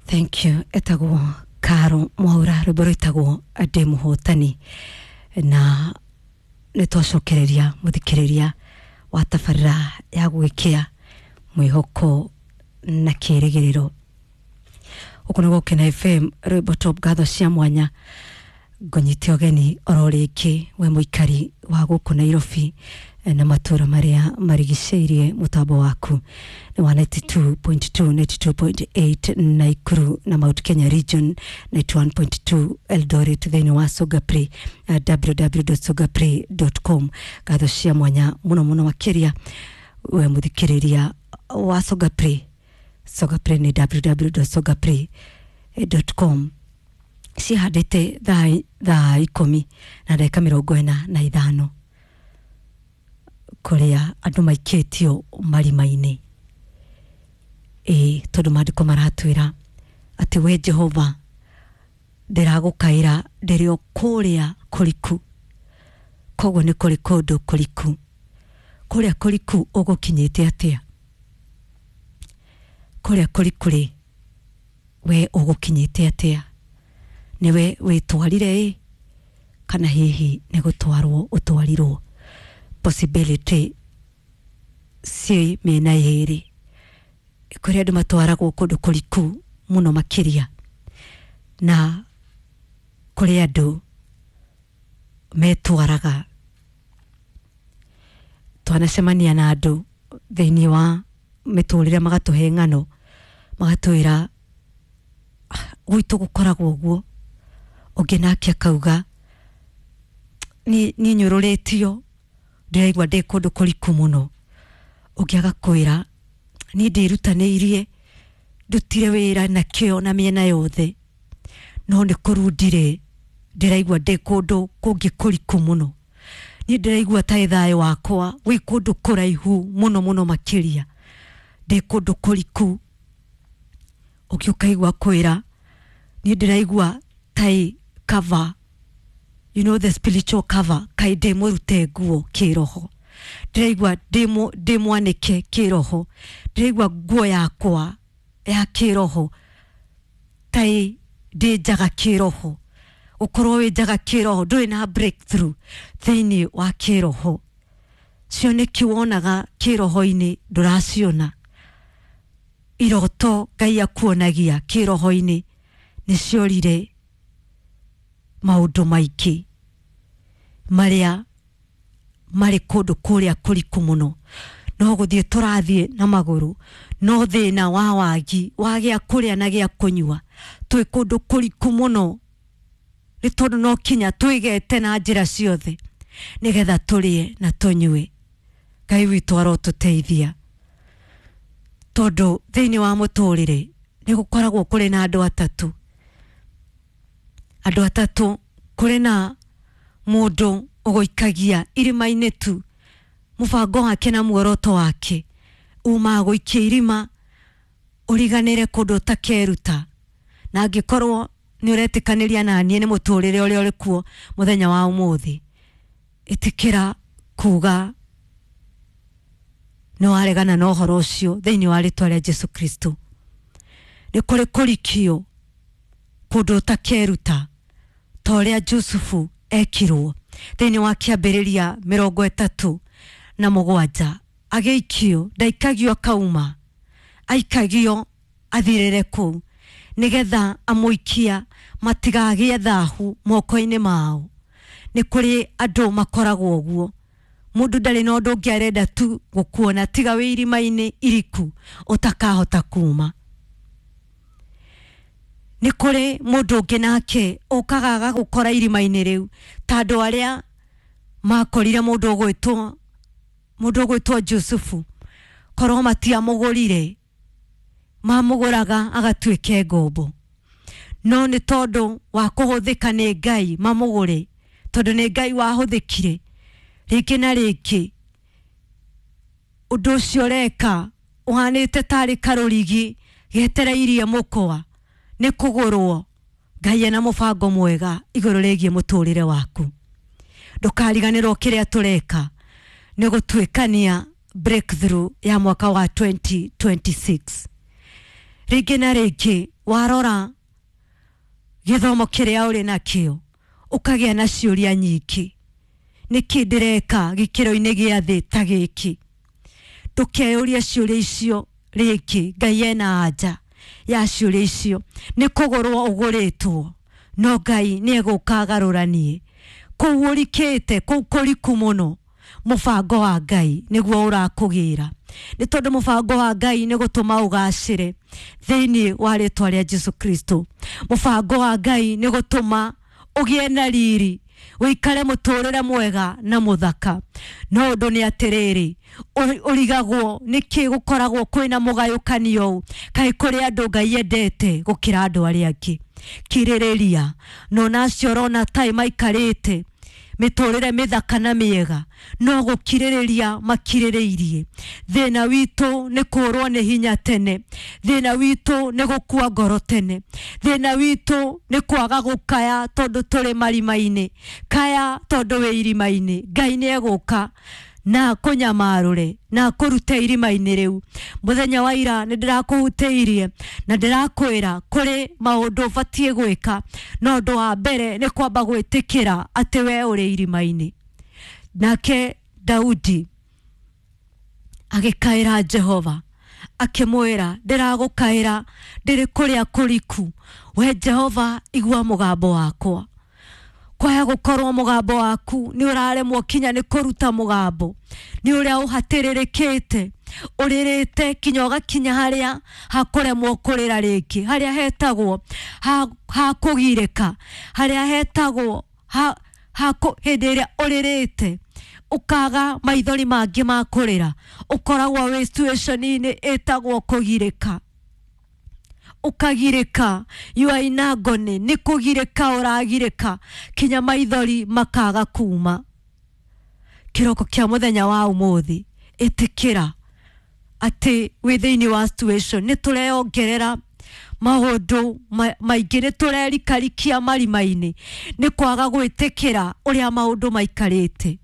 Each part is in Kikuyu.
Thank you. Etagwo Karo Mwaura, rwĩmbo rwĩtagwo Ndĩ Mũhotani. Na nĩ twacokereria mũthikĩrĩria wa tabarĩra ya gwĩkĩa mwĩhoko na kĩrĩgĩrĩro. Gũkũ nĩ Gũkena FM, rwĩmbo top. Ngatho cia mwanya ngũnyite ũgeni oro rĩngĩ we mũikari wa gũkũ Nairobi na matũra marĩa marigicĩirie. Mũtambo waku nĩ wa 92.2, 92.8 Naikuru na Mount Kenya region, 91.2 Eldoret, thĩinĩ wa Sogapre, www.sogapre.com. Ngatho cia mwanya mũno mũno makĩria we mũthikĩrĩria wa Sogapre. Sogapre nĩ www.sogapre.com. Cihandĩte thaa 10:45, kũrĩa andũ maikĩtio marima-inĩ, ĩ tondũ maandĩko maratwĩra atĩ we Jehova, ndĩragũkaĩra ndĩrĩ o kũrĩa kũriku. Koguo nĩ kũrĩ kũndũ kũriku. Kũrĩa kũriku ũgũkinyĩte atĩa? Kũrĩa kũriku rĩ, we ũgũkinyĩte atĩa? Nĩwe wĩtwarire ĩ, kana hihi nĩ gũtwarwo ũtwarirwo? Possibility ci mĩena yerĩ. Kũrĩ andũ matwaragwo kũndũ kũriku mũno makĩria, na kũrĩ andũ metwaraga. Twanacemania na andũ thĩinĩ wa mĩtũrĩre, magatũhe ng'ano, magatwĩra, "Ah, gwitũ gũkoragwo ũguo." Ũngĩ nake akauga, "Niĩ nyũrũrĩtio, ndĩraigua ndĩ kũndũ kũriku mũno." Ũngĩ agakwĩra, "Niĩ ndĩrutanĩirie, ndutire wĩra na kĩo na mĩena yothe, no nĩ kũrundire, ndĩraigua ndĩ kũndũ kũngĩ kũriku mũno. Niĩ ndĩraigua ta thayũ wakwa wĩ kũndũ kũraihu mũno mũno makĩria, ndĩ kũndũ kũriku." Ũngĩ ũkaigua kwĩra, "Niĩ ndĩraigua tai cover, you know, the spiritual cover, kaĩ ndĩ mũrute nguo kĩroho, ndĩraigua ndĩ mwanĩke kĩroho, ndĩraigua nguo yakwa ya kĩroho tai ndĩ njaga kĩroho." Ũkorwo wĩ njaga kĩroho, ndũrĩ na breakthrough thĩinĩ wa kĩroho, cioneki wonaga kĩroho-inĩ ndũraciona, iroto Ngai akuonagia kĩroho-inĩ nĩ ciorire, maũndũ maingĩ marĩa marĩ kũndũ kũrĩa kũriku mũno. No gũthiĩ tũrathiĩ na magũrũ, no thĩna wa wagi wa gĩa kũrĩa na gĩa kũnyua, twĩ kũndũ kũriku mũno, nĩ tondũ no kinya twĩgete na njĩra ciothe nĩgetha tũrĩe na tũnyue. Ngai witũ arotũteithia, tondũ thĩinĩ wa mũtũrĩre nĩ gũkoragwo kũrĩ na andũ atatũ. Andũ atatũ: kũrĩ na mũndũ ũgũikagia irima-inĩ tu, mũbango wake na muoroto wake umaga gũikia irima ũriganĩre kũndũ ũtakeruta. Na angĩkorwo nĩ ũretĩkanĩria na niĩ nĩ mũtũrĩre ũrĩa ũrĩ kuo mũthenya wa ũmũthĩ, ĩtĩkĩra kuga nĩ waregana na ũhoro ũcio thĩinĩ wa rĩtwa rĩa Jesu Kristo. Nĩ kũrĩ kũrikio kũndũ ũtakeruta, ta ũrĩa Jusufu ekirwo thĩinĩ wa Kĩambĩrĩria 37. Agĩikio, ndaikagio akauma, aikagio athirĩre kũu, nĩgetha amũikia matigagĩe thahu moko-inĩ mao. Nĩ kũrĩ andũ makoragwo ũguo, mũndũ ndarĩ na ũndũ ũngĩ arenda tu gũkuona tiga wĩ irima-inĩ iriku ũtakahota kuma. Nĩ kũrĩ mũndũ ũngĩ nake ũkaga agagũkora irima-inĩ rĩu, ta andũ arĩa makorire mũndũ ũgwĩtwo Jusufu. Korwo matiamũgũrire, mamũgũraga agatuĩke ngombo, no nĩ tondũ wa kũhũthĩka nĩ Ngai mamũgũre, tondũ nĩ Ngai wahũthĩkire rĩngĩ na rĩngĩ. Ũndũ ũcio ũreka ũhanĩte tarĩ karũrigi getereirie mũkwa nĩ kũgũrwo. Ngai ena mũbango mwega igũrũ rĩgiĩ mũtũrĩre waku. Ndũkariganĩrwo kĩrĩa tũreka nĩ gũtuĩkania breakthrough ya mwaka wa 2026. Rĩngĩ na rĩngĩ warora gĩthomo kĩrĩa ũrĩ nakĩo ũkagĩa na ciũria nyingĩ, nĩkĩ ndĩreka gĩkĩro-inĩ gĩa thĩ ta gĩkĩ? Ndũkeyũrie ciũria icio rĩngĩ. Ngai ena anja ya ciũria icio. Nĩ kũgũrwo ũgũrĩtwo, no Ngai nĩ egũka agarũranie kũu ũrikĩte, kũu kũriku mũno. Mũbango wa Ngai nĩguo ũrakũgĩra, nĩ tondũ mũbango wa Ngai nĩ gũtũma ũgacĩre thĩinĩ wa rĩtwa rĩa Jesu Kristo. Mũbango wa Ngai nĩ gũtũma ũgĩe na riri, ũikare mũtũrĩre mwega na mũthaka. No ũndũ nĩ atĩrĩrĩ, ũrigagwo nĩkĩ gũkoragwo kwĩna mũgayũkanio ũũ? Kaĩ kũrĩ andũ Ngai endete gũkĩra andũ arĩa angĩ? Kirĩrĩria. No nacio ũrona taĩ maikarĩte mĩtũrĩre mĩthaka na mĩega, no gũkirĩrĩria makirĩrĩirie. Thĩna witũ nĩ kũrwo nĩ hinya tene, thĩna witũ nĩ gũkua ngoro tene, thĩna witũ nĩ kwaga gũkaya tondũ tũrĩ marima-inĩ. Kaya tondũ wĩ irima-inĩ, Ngai nĩ egũka na kũnyamarũre na kũrute irima-inĩ rĩu. Mũthenya wa ira nĩ ndĩrakũhutĩirie na ndĩrakwĩra kũrĩ maũndũ ũbatiĩ gwĩka, no ũndũ wa mbere nĩ kwamba gwĩtĩkĩra atĩ we ũrĩ irima-inĩ. Nake Daudi agĩkaĩra Jehova akĩmwĩra, ndĩragũkaĩra ndĩrĩ kũrĩa kũriku, we Jehova igua mũgambo wakwa. Kwaya gũkorwo mũgambo waku nĩ ũraremwo kinya nĩ kũruta mũgambo, nĩ ũrĩa ũhatĩrĩrĩkĩte, ũrĩrĩte kinya ũgakinya harĩa hakũremwo kũrĩra rĩngĩ, harĩa hetagwo ha kũgirĩka, harĩa hetagwo hĩndĩ ĩrĩa ũrĩrĩte ũkaga maithori mangĩ ma kũrĩra, ũkoragwo wĩ situation-inĩ ĩtagwo kũgirĩka. Ũkagirĩka, you are in agony, nĩ kũgirĩka ũragirĩka kinya maithori makaga kuma. Kĩroko kĩa mũthenya wa ũmũthĩ, ĩtĩkĩra atĩ wĩ thĩinĩ wa situation. Nĩ tũreyongerera maũndũ maingĩ, nĩ tũrerikarikia marima-inĩ nĩ kwaga gwĩtĩkĩra ũrĩa maũndũ maikarĩte.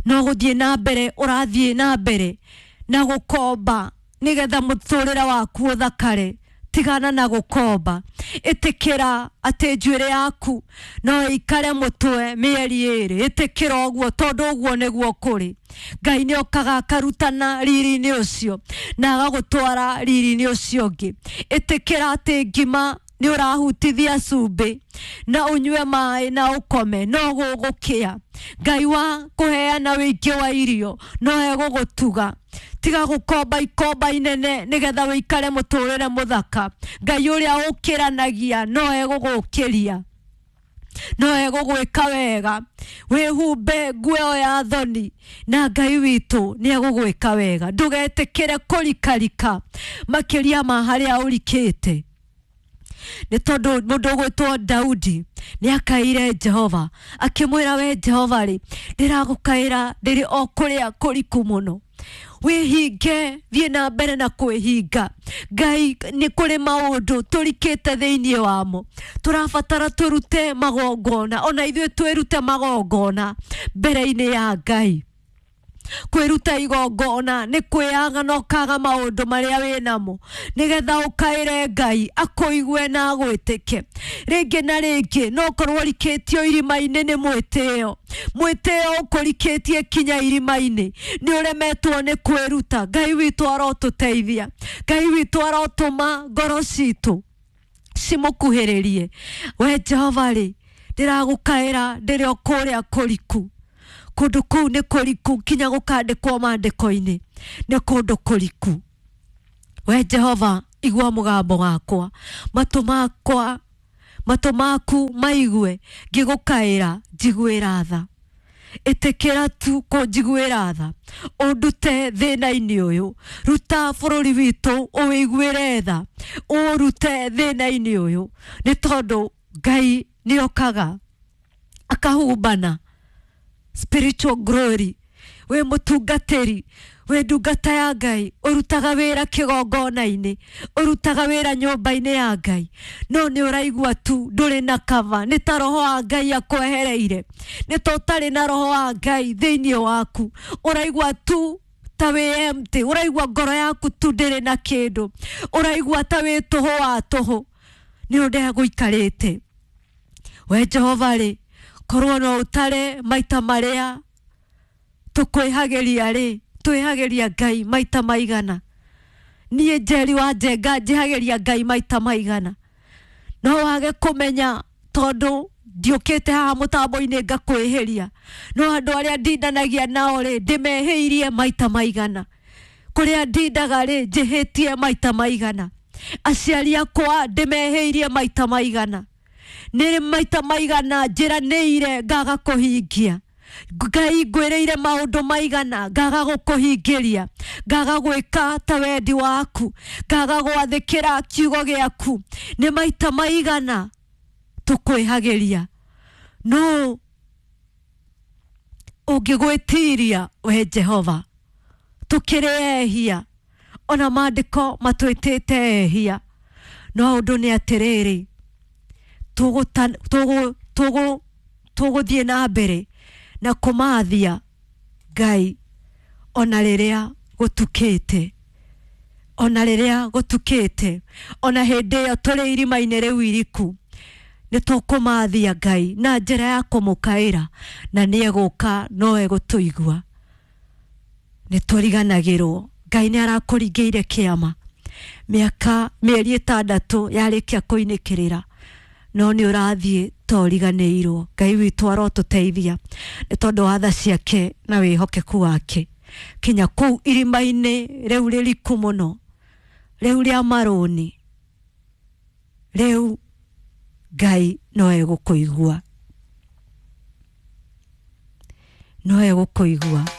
No gũthiĩ na mbere ũrathiĩ na mbere na gũkomba nĩgetha mũtũrĩre waku ũthakare. Tigana na gũkomba, ĩtĩkĩra atĩ njuĩrĩ yaku no ĩikare mũtwe mĩeri ĩrĩ. Ĩtĩkĩra ũguo tondũ ũguo nĩguo kũrĩ. Ngai nĩ okaga akarutana riri-inĩ ũcio na agagũtwara riri-inĩ ũcio ũngĩ. Ĩtĩkĩra atĩ ngima nĩ ũrahutithia cumbĩ na ũnyue maĩ na ũkome, no gũgũkĩa. Ngai wa kũheana wĩingĩ wa irio no egũgũtuga. Tiga gũkomba ikomba inene nĩgetha wĩikare mũtũrĩre mũthaka. Ngai ũrĩa ũkĩranagia no egũgũkĩria, no egũgwĩka wega. Wĩhumbe nguo ĩyo ya thoni na Ngai witũ nĩ egũgwĩka wega. Ndũgetĩkĩre kũrikarika makĩria ma harĩa ũrikĩte, nĩ tondũ mũndũ ũgwĩtwo Daudi nĩ akaire Jehova akĩmwĩra, we Jehova rĩ, ndĩragũkaĩra ndĩrĩ o kũrĩa kũriku mũno. Wĩhinge, thiĩ na mbere na kwĩhinga. Ngai, nĩ kũrĩ maũndũ tũrikĩte thĩinĩ wamo, tũrabatara tũrute magongona, ona ithuĩ twĩrute magongona mbere-inĩ ya Ngai. Kwĩruta igongona nĩ kwĩyaga na ũkaga maũndũ marĩa wĩ namo nĩgetha ũkaĩre Ngai akũigue na agwĩtĩke. Rĩngĩ na rĩngĩ no ũkorwo ũrikĩtio irima-inĩ nĩ mwĩtĩo, mwĩtĩo ũkũrikĩtie kinya irima-inĩ, nĩ ũremetwo nĩ kwĩruta. Ngai witũ arotũteithia, Ngai witũ arotũma ngoro citũ cimũkuhĩrĩrie. We Jehova rĩ, ndĩragũkaĩra ndĩrĩ o kũrĩa kũriku. Kũndũ kũu nĩ kũriku kinya gũkandĩkwo maandĩko-inĩ, nĩ kũndũ kũriku. We Jehova igua mũgambo wakwa, matũ makwa, matũ maku maigue ngĩgũkaĩra, njiguĩra tha. Ĩtĩkĩra tu kũnjiguĩra tha, ũndute thĩna-inĩ ũyũ. Ruta bũrũri witũ ũwĩiguĩre tha, ũrute thĩna-inĩ ũyũ, nĩ tondũ Ngai nĩ okaga akahumbana spiritual glory. Wĩ mũtungatĩri, wĩ ndungata ya Ngai, ũrutaga wĩra kĩgongona-inĩ, ũrutaga wĩra nyũmba-inĩ ya Ngai, no nĩ ũraigua tu ndũrĩ na kava, nĩ ta roho wa Ngai akwehereire, nĩ ta ũtarĩ na roho wa Ngai thĩinĩ waku, ũraigua tu ta wĩ empty, ũraigua ngoro yaku tu ndĩrĩ na kĩndũ, ũraigua ta wĩ tũhũ wa tũhũ nĩ ũrĩa gũikarĩte. We Jehova rĩ, korwo no ũtare maita marĩa tũkwĩhagĩria rĩ, twĩhagĩria Ngai maita maigana. Niĩ Njeri wa Njenga njĩhagĩria Ngai maita maigana. No wage kũmenya tondũ ndiũkĩte haha mũtambo-inĩ ngakwĩhĩria, no andũ arĩa ndindanagia nao rĩ, ndĩmehĩirie maita maigana. Kũrĩa ndindaga rĩ, njĩhĩtie maita maigana. Aciari akwa ndĩmehĩirie maita maigana. Nĩ maita maigana njĩranĩire ngaga kũhingia. Ngai ngwĩrĩire maũndũ maigana ngaga gũkũhingĩria, ngaga gwĩka ta wendi waku, ngaga gwathĩkĩra kiugo gĩaku. Nĩ maita maigana tũkwĩhagĩria. No ũngĩgwĩtiria we Jehova, tũkĩrĩ ehia, ona maandĩko matwĩtĩte ehia, no ũndũ nĩ atĩrĩrĩ, tũgũthiĩ na mbere na kũmathia Ngai ona rĩrĩa gũtukĩte, ona rĩrĩa gũtukĩte, ona hĩndĩ ĩyo tũrĩ irima-inĩ rĩu iriku, nĩ tũkũmathia Ngai na njĩra ya kũmũkaĩra, na nĩ egũka no egũtũigua. Nĩ tũriganagĩrwo Ngai nĩ arakũringĩire kĩama mĩaka mĩeri 6 yarĩkia kũinĩkĩrĩra, no nĩ ũrathiĩ ta ũriganĩirwo. Ngai witũ arotũteithia nĩ tondũ wa tha ciake na wĩhokeku wake, kinya kũu irima-inĩ rĩu rĩriku mũno, rĩu rĩa marũni, rĩu Ngai no egũkũigua, no egũkũigua.